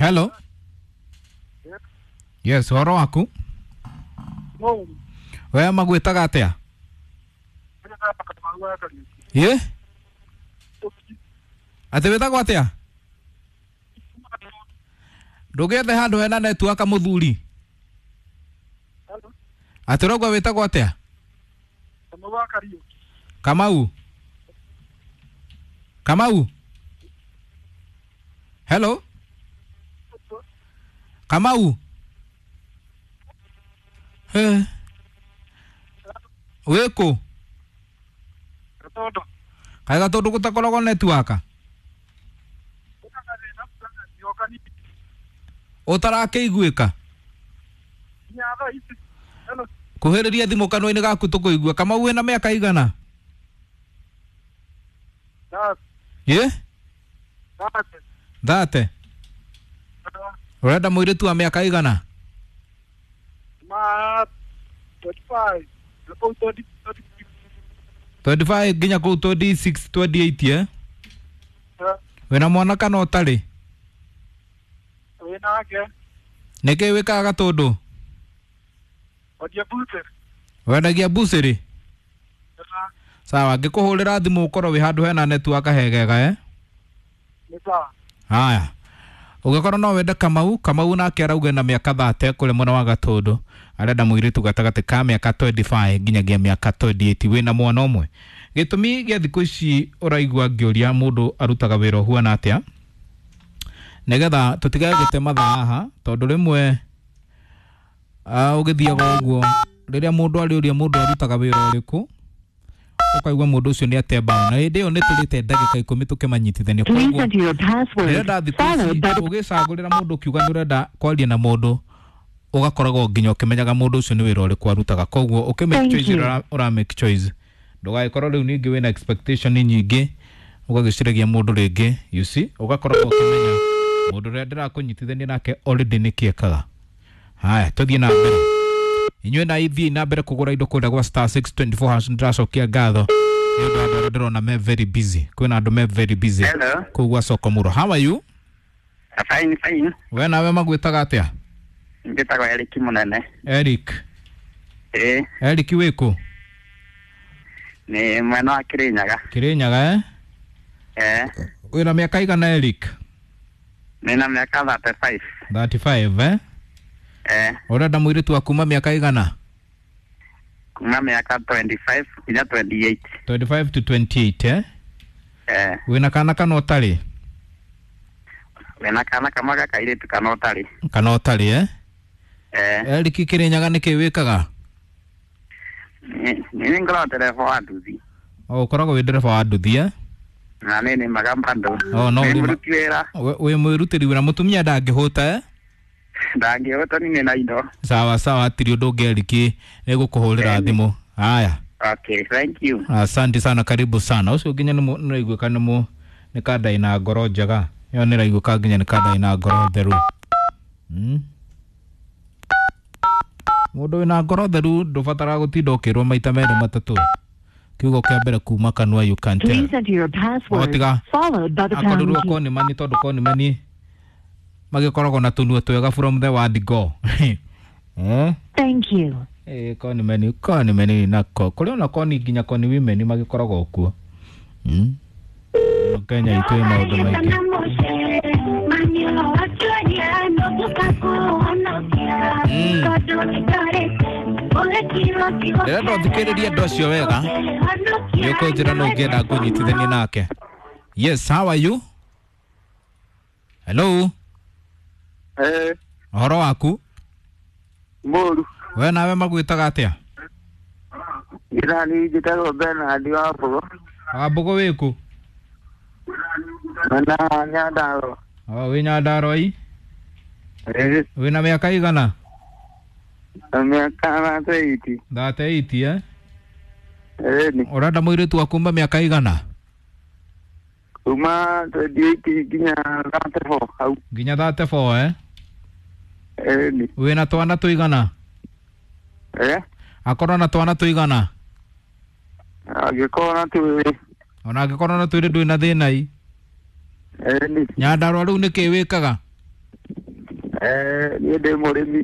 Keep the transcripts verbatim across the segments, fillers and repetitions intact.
Hello. Yes, ũhoro waku? We magwĩtaga atĩa? Ye? Atĩ wĩtagwo atĩa? Ndũgĩethe handũ hena network mũthuri. Atĩ ũrauga wĩtagwo atĩa? Kamau. Kamau. Hello. Kamau. He. Wĩkũ? Kaĩ Gatũndũ gũtakoragwo network? Ũtarakĩiguĩka? Kuhĩrĩria thimũ kanua-inĩ gaku tũkũigua. Kamau wĩna mĩaka igana? Ĩ? Thate. Ũrenda mũirĩtu wa mĩaka igana? twenty-five nginya kũu twenty-six twenty-eight eh? Wĩna mwana kana ũtarĩ? Nĩkĩĩ wĩkaga Gatũndũ? Wendagia mbucĩrĩ? Sawa, ngĩkũhũrĩra thimũ ũkorwo wĩ handũ hena network hegega eh? Haya. Ũngĩkorwo no wende Kamau, Kamau nake arauga na mĩaka thate kũrĩa mwena wa Gatũndũ, arenda mũirĩtu gatagatĩ ka mĩaka twenty-five nginyagia mĩaka twenty-eight wĩna mwana ũmwe. Gĩtũmi gĩa thikũ ici ũraigua ngĩũria mũndũ arutaga wĩra ũhuana atĩa, nĩgetha tũtigage gũte mathaa haha, tondũ rĩmwe uh, ũgĩthiaga ũguo rĩrĩa mũndũ arĩũria mũndũ arutaga wĩra ũrĩkũ, ũkaigua mũndũ ũcio nĩ atemba, na hĩndĩ ĩyo nĩ tũrĩte ndagĩka ikũmi tũkĩmanyitithania. Please enter your password Ndĩrenda thikũ ici followed by the ũgĩcagũrĩra mũndũ ũkiuga nĩ ũrenda kwaria na mũndũ, ũgakoragwo nginya ũkĩmenyaga mũndũ ũcio nĩ wĩra ũrĩkũ arutaga. Koguo ũkĩ make Thank choice you. ũra, ũra make choice, ndũgagĩkorwo rĩu ningĩ wĩna expectation nyingĩ ũgagĩciragia mũndũ rĩngĩ, you see, ũgakoragwo ũkĩmenya mũndũ ũrĩa ndĩrakũnyitithania nake already nĩkĩ ekaga. Haya, tũthiĩ na mbere. Inyuĩ na ithiĩ na mbere kũgũra indo kũrĩa gwa star six twenty-four hash. Ndĩracokia ngatho nĩ ũndũ wa andũ arĩa ndĩrona me very busy. Kwĩna andũ me very busy Hello. kũu gwa soko mũro. How are you? Fine, fine. We nawe magwĩtaga atĩa? Njĩtagwo Eric Mũnene. Eric. Ĩĩ, Eric wĩkũ? nĩ mwena wa Kĩrĩnyaga. Kĩrĩnyaga eh? Eh, Wĩna mĩaka igana Eric? nĩna mĩaka thirty-five. thirty-five eh? Eh, Ũrenda mũirĩtu wa kuma mĩaka igana? kuma mĩaka twenty-five nginya twenty-eight. twenty-five to twenty-eight eh? Eh, Wĩna kana kana ũtarĩ? wĩna kana kamwe ga kairĩtu kana ũtarĩ. Kana ũtarĩ eh? Eh, Eric Kĩrĩnyaga nĩkĩ wĩkaga? nĩ nĩ ngoragwo ndereba wa nduthi. O ũkoragwo wĩ ndereba wa nduthi eh? Na nĩ nĩmaga bado. Oh, no Nĩ ũrĩma- mũruti wĩra. We- Wĩ mwĩrutĩri wĩra, mũtumia ndangĩhũta eh? Ndangĩhota ni nĩ na indo. Sawa sawa, hatirĩ ũndũ ũngĩ Eric, nĩgũkũhũrĩra Ĩni. thimũ. Haya. Okay, thank you. Asante sana, karibu sana. Ũcio nginya nĩ nĩraiguĩka nĩ mũ nĩ kanda ĩna ngoro njega. Ĩyo nĩraiguĩka nginya nĩ kanda ĩna ngoro theru. Mm. Mũndũ wĩna ngoro theru ndũbataraga gũtinda ũkĩrwo maita merĩ matatũ. Kiugo kĩa mbere kuma kanua you can tell. Please enter your password Otiga. followed by the pound Akorirwo key. konimani tondũ konimani magĩkoragwo na tũnua twega from the word go. Eh? Thank you. Eh, konimeni konimeni nako kũrĩ ona koni nginya koni women magĩkoragwo kuo. Mm. Kenya itũ ĩ maũndũ maingĩ. Mm. Ndĩrenda ũthikĩrĩrie andũ acio wega, nĩ ũkũnjĩra no ũngĩenda ngũnyitithanie nake. Yes, how are you? Hello, Eh, ũhoro waku? mũru. We nawe magwĩtaga atĩa? Njĩra njĩtagwo Bernard wa Mbogo. Wambũgũ wĩkũ? Mwena wa Nyandarua. O, wĩ Nyandarua i? Eh, Wĩna mĩaka igana? na mĩaka thirty-eight. Thirty-eight eh? Eh, nĩ Ũrenda mũirĩtu wa kuma mĩaka igana? kuma twenty-eight nginya thirty-four hau. Nginya thirty-four eh? Eh, nĩ. Wĩna twana tũigana? Eh, Akorwo na twana tũigana? angĩkorwo na twĩrĩ. Ona angĩkorwo na twĩrĩ ndwĩ na thĩna i? Eh, nĩ. Nyandarua rĩu nĩkĩ wĩkaga? Eh, niĩ ndĩ mũrĩmi.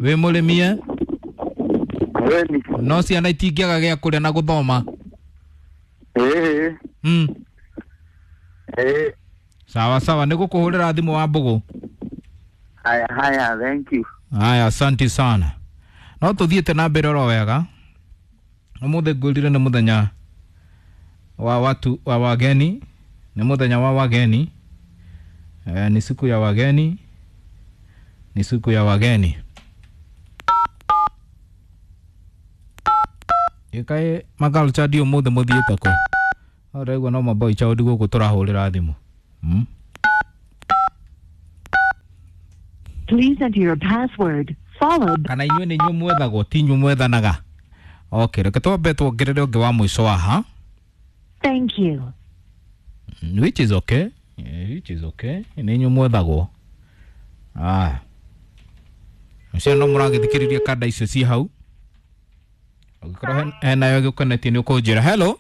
Wĩ mũrĩmi e? Ĩni. No ciana itingĩaga gĩa kũrĩa na gũthoma. Ĩĩ. Mm. Ĩĩ. Sawa sawa, nĩ gũkũhũrĩra thimũ wa mbũgũ. Haya haya, thank you. Haya, asante sana. No tũthiĩte na mbere oro wega. Ũmũthĩ ngwĩrire nĩ mũthenya wa watu wa wageni, nĩ mũthenya wa wageni. Eh, ni siku ya wageni, ni siku ya wageni. Ĩkaĩ makalcha ndi ũmũthĩ mũthiĩte kũ? No ndĩraigua no maboi child gũkũ tũrahũrĩra thimũ. Mm? Please enter your password followed Kana inyuĩ nĩ inyuĩ mwethagwo ti inyuĩ mwethanaga. Okay, reke twambe tuongerere ũngĩ wa mũico haha. Thank you. Mm, which is okay. Yeah, which is okay. Nĩ inyuĩ mwethagwo. Aya. Ũcio no mũragĩthikĩrĩria kanda icio ci hau. Ũngĩkorwo hen- henayo ĩgũkonetie nĩ ũkũnjĩra. Hello.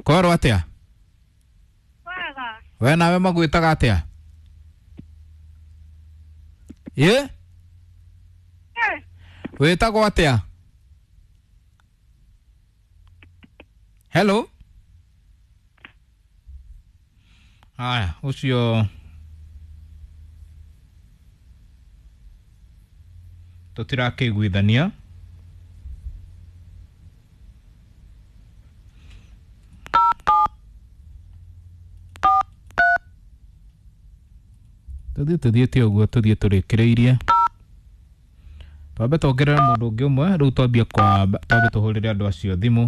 Kwerwo atĩa? Wega. We nawe magwĩtaga atĩa? Ĩ? Eh, Wĩtagwo atĩa? Hello. Haya, ũcio tũtirakĩiguithania. Tũthiĩ tũthiĩte ũguo tũthiĩ tũrĩkĩrĩirie. Twambe tuongerere mũndũ ũngĩ ũmwe rĩu twambie kwamba twambe tũhũrĩre andũ acio thimũ.